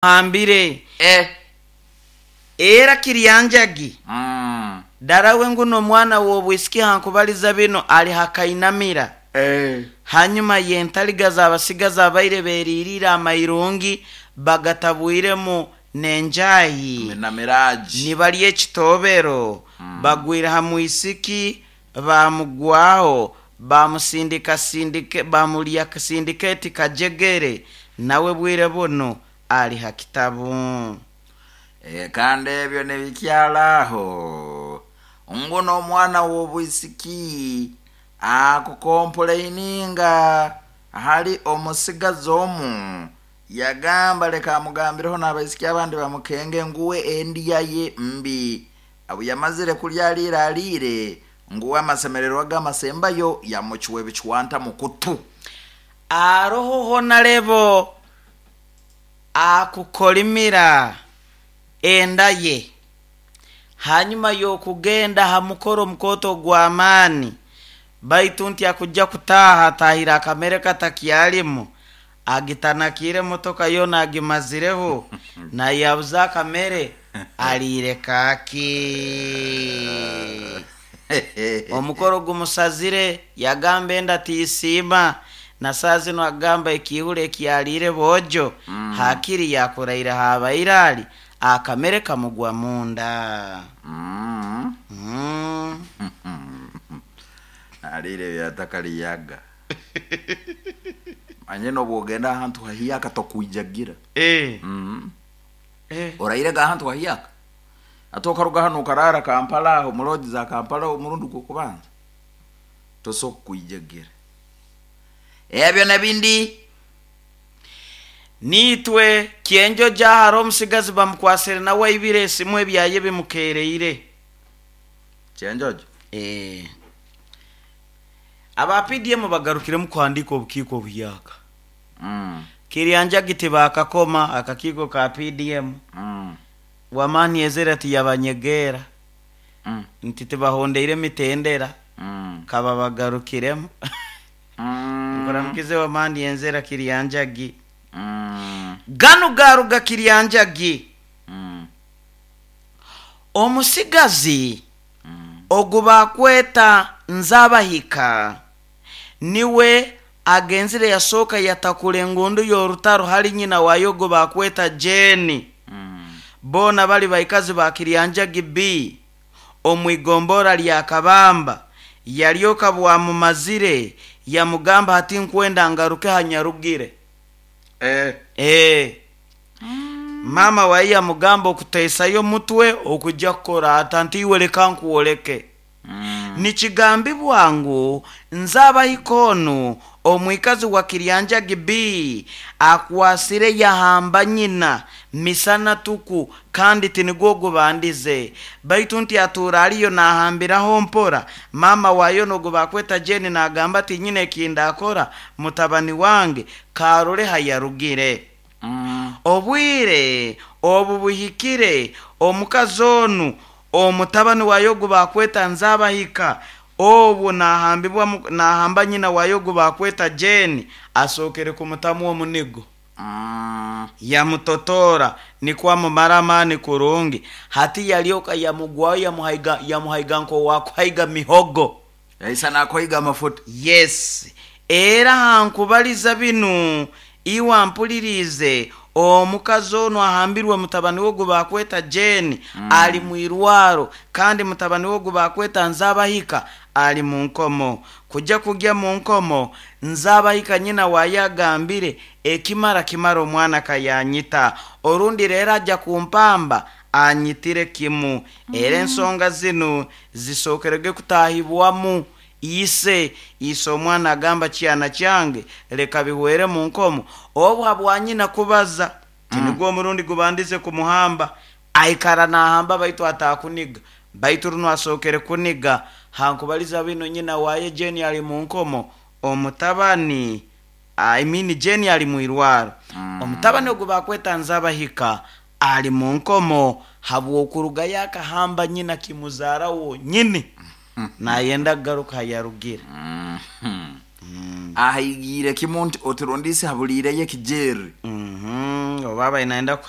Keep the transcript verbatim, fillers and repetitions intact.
Hambire. Eh. Era Kiryanjagi. Mm. Darawe nguno omwana w'obwisiki hankubaliza bino ali hakainamira. Eh. Hanyuma yentaliga abasigazi abaire beririre amairungi bagatabwiremu nenjayi Na miraji. nibalya ekitobero. mm. Bagwire ha mwisiki bamugwaho bamusindika sindike bamulya sindiketi kajegere nawe bwire buno ali ha kitabu. E, kandi ebyo nebikyalaho nguno omwana w'obwisiki akukomplaininga hali omusigazi omu yagamba leka amugambireho n'abaisiki abandi bamukenge nguwe endiya ye mbi abu yamazire kulya aliire aliire nguwe amasemererwa g'amasembayo yamucuwa ebicuwanta mu kutu. Aroho honarebo akukolimira enda ye hanyuma y'okugenda ha mukoro omukoto gw'amaani baitu nti akujja kutaaha atahire akamere katakyalimu agitanakire emotoka yoona agimazireho nayabuza akamere aliire kaaki. Omukoro gumusazire yagamba enda tiisiima na saa zino agamba ekiihuro ekyaliire boojo. mm. Hakiri yakuraire habaire ali akamere kamugwa munda. Mm. Mm. Aliire byatakaliyaga manye nobwogenda ahantu hahiyaka tokwijagira. Eh. Mm. Eh. Orairega ahantu hahiyaka ate okaruga hano okarara Kampala aho muloji za Kampala omurundi gwokubanza tosobola kwijagira ebyo nebindi. Nitwe kyenjo jahara omusigazi bamukwasire nawe aibire esimu ebyaye bimukereire. Kyenjojo. Eh. Aba P D M bagarukiremu kuhandika obukiiko obuhyaka. Mm. Kiryanjagi tibakakoma akakiiko ka P D M. Mm. Wamani ezera tiyabanyegera. Mm. Nti tibahondeire mitendera. Mm. Kaba bagarukiremu. Mm. Nkoramukize Wamani enzera Kiryanjagi. Mm. Ganu garuga Kiryanjagi. Mm. Omusigazi Mm. ogubakweta Nzabahika niwe agenzire yasooka yatakula engundu y'orutaro hali nyina wayo ogubakweta Jeni. Mm. Boona bali baikazi ba Kiryanjagi B omwigombora lya Kabamba. Yalyoka bwamumazire yamugamba ati nkwenda ngaruke hanyarugire. Eh. Eh. Mm. Mama waye yamugamba okuteesayo mutwe okujja kukora ata nti iwe leka nkuwoleke. Mm. Nikigambibwa ngu Nzabahika onu omwikazi wa Kiryanjagi B akwasire yahamba nyina misana tuku kandi tinigwo gubandize baitu nti atuura aliyo nahambiraho mpora. Mama wayo nogu bakweta Jeni nagamba ati nyina ekindakora mutabani wange karole hayarugire. Mm. Obwire obu buhikire omukazi onu omutabani wayo gubakweta Nzabahika obu nahambibwa nahamba nyina wayo gubakweta Jeni asokere kumutamu omunigo. Mm. Yamutotora nikwa mumara kurungi hati yalyoka yamugwayo yamuhaiga yamuhaiga nko wakuhaiga mihogo yaisa nakoiga amafuta. Yes. Era hankubaliza binu iwa mpulirize omukazi ono ahambirwe mutabani we gubakweta Jeni. mm. Ali mwirwaro kandi mutabani we gubakweta Nzabahika ali mu nkomo. Kujja kujya mu nkomo Nzabahika nyina wayagambire ekimara kimara omwana kayanyita orundi rero ajja kumpamba anyitire kimu. mm. Era ensonga zino zisokerege kutahibwamu ise ise omwana agamba kyana kyange leka bihwere mu nkomo obwa bwanyina kubaza tinigwo omurundi gubandize kumuhamba aikara nahamba baitu atakuniga baitu runo asokere kuniga hankubaliza bino nyina waye Jeni ali mu nkomo omutabani I mean Jeni ali mwirwaro. mm. Omutabani ogubakweta Nzabahika ali mu nkomo habwokuruga yakahamba nyina kimuzara wonyini nayenda garuka yarugira. Mm. Mm. Ahigire kimuntu otirondise habulireyo kijeri. Mhm. Obu aba naayenda.